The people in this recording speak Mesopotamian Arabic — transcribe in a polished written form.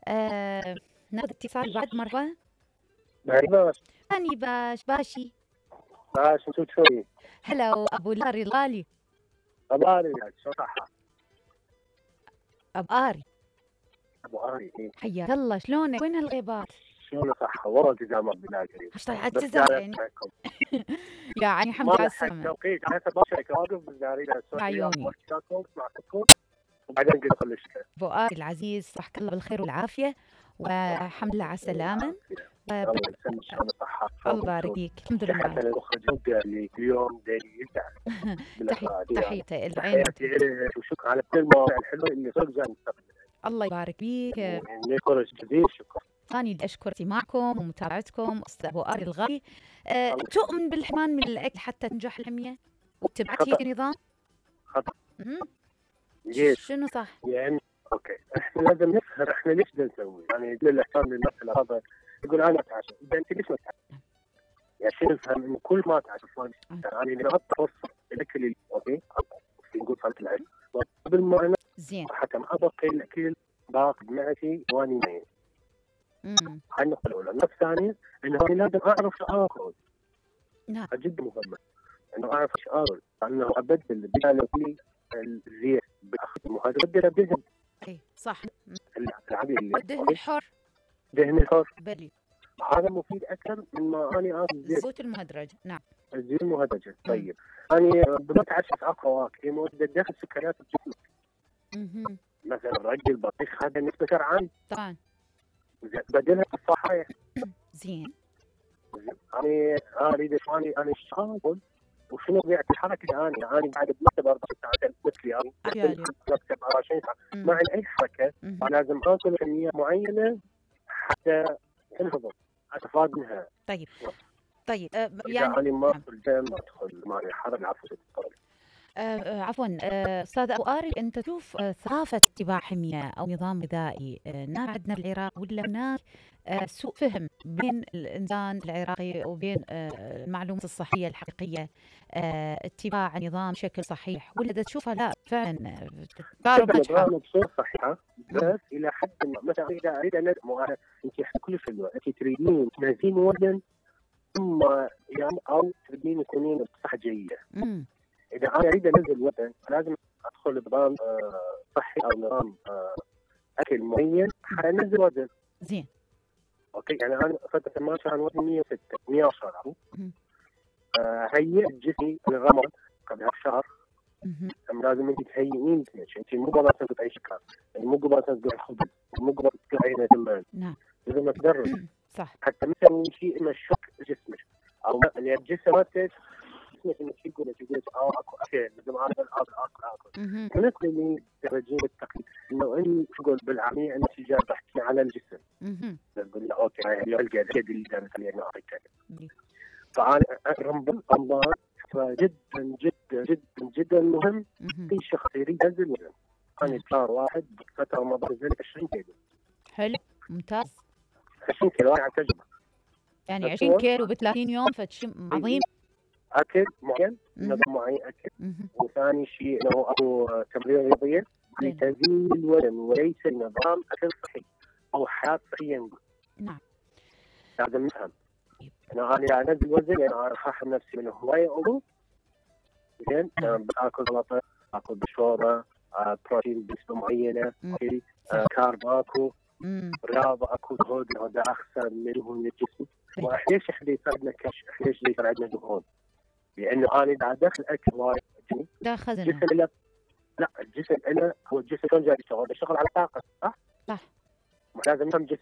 آه ناخذ اتصال بعد مرة. باش أني باشي. باش شو تسوي؟ هلو أبو لاري الغالي. أباري شو صح؟ أبو آري. أبو آري حياك الله، شلونك؟ وين هالغيبات؟ شلون صح؟ والله التزامات بالله الكريم. ايش طلع بس التزام قاعد يعني؟ أسمعكم. يعني الحمد ما لله على لحقت السلامة. توقيت، أنا هسه باشرك واقف بس اريد اسوي عيوني. معكم وبعدين قلت كل شيء. أبو آري العزيز، صحك الله بالخير والعافية والحمد لله على السلامة. الله يسلمك شلون صحة. الله يبارك فيك، الحمد لله. حتى المخرج اللي اليوم داير يزعل. تحياتي العين. تحياتي لك وشكرا على كل المواضيع الحلوة اللي صدق زين. الله يبارك فيك. نشكرك جزيل الشكر. أنا اللي أشكر استماعكم ومتابعتكم أستاذ أبو آري الغالي. تؤمن بالحرمان من الأكل حتى تنجح الحمية وتبعت هيك نظام؟ خطأ. شنو صح؟ يعني اوكي احنا لازم نفهم احنا ليش بدنا نسوي، يعني للاحترام للناس هذا يقول انا اتعشى، اذا انت ليش ما تتعشى؟ يعني شو نفهم انه كل ما تعشى يعني اذا اعطى فرصه الاكل اوكي نقول صلاه العشاء قبل ما انا زين حتى ما ابقي الاكل باخذ معي واني نايم. هاي النقطه الاولى. النقطه الثانيه انه انا لازم اعرف شو اكل. نعم جدا مهمه انه اعرف شو اكل، لانه ابدل بدال الزيت وهذا بدل بدهن. اي صح. العادي الدهن الحر. دهن الحر بلي هذا مفيد اكثر مما اني اكل زيت. الزيوت المهدرجه. نعم الزيوت المهدرجه. طيب انا بتعشى فواكه مؤدة دخل سكريات بجسمك. مثلا الرجل البطيخ هذا نسبة شرعان طبعا. بدلها بالصحايا. زين. انا اريد شواني انا اشتغل وشنو طبيعه الحركه. انا قاعد بمكتب 24 ساعه مثلي انا مكتب 24 ساعه ما عندي اي حركه. لازم اكل كميه معينه حتى انهضم استفاد منها. طيب يعني انا ما ادخل جيم ما ادخل معي حركه. عفوا استاذ ابو آري، انت تشوف ثقافه اتباع حميه او نظام غذائي نار عندنا بالعراق ولا هناك سوء فهم بين الانسان العراقي وبين المعلومات الصحيه الحقيقيه اتباع نظام بشكل صحيح، ولا تشوفها لا فعلا تقارب نجحه؟ بصوره صحيحه بس الى حد ما. مثلا اريد انت كل شيء انت تريدين تنزلين وزن ثم يعني او تريدين تكونين بصحه جيده. اذا انا اريد انزل وزن لازم ادخل بنظام صحي او نظام اكل معين حانزل وزن. زين. اوكي يعني انا فتره ما كان وزني 106 110 هيئ جسمي للرمض قبل شهر. لازم انت تهيئين انت مو بس تقطعي شكر، يعني مو بس تقطعي خبز، مو بس تقطعي جمال. نعم لازم تدرب صح حتى مثلا شيء مشك جسمك او الجسم مالتك جسمك انك تقول اكو اكل لازم اكل بالنسبه لي ترجين التقليد انه انت تقول بالعاميه انت جاي تحكي على الجسم. تقول له اوكي هاي القى اليد اللي دارت خليني اعطيك. فانا رمضان جدا جدا جدا جدا مهم. في شخص يريد ينزل وزن. انا شهر واحد فتره رمضان نزلت 20 كيلو. حلو ممتاز. 20 كيلو عن تجربه. يعني 20 كيلو ب 30 يوم فشيء عظيم. اكل معين نظام معين اكل. وثاني شيء انه اكو تمرين رياضيه لتنزيل الوزن وليس نظام اكل صحي او حياه صحيه نقول. نعم لازم نفهم. انا انزل وزن يعني انا احرم نفسي من هوايه امور. زين باكل سلطه اكل بشوره بروتين بنسبه معينه كارب اكو رياضه اكو هذا اخسر من دهون الجسم. وليش احنا يصير عندنا كش؟ ليش يصير عندنا دهون؟ لانه انا قاعد ادخل اكل وايد داخل الجسم لا الجسم انا هو الجسم شلون جاي يشتغل؟ يشتغل على طاقه صح؟ صح. لازم نفهم جسم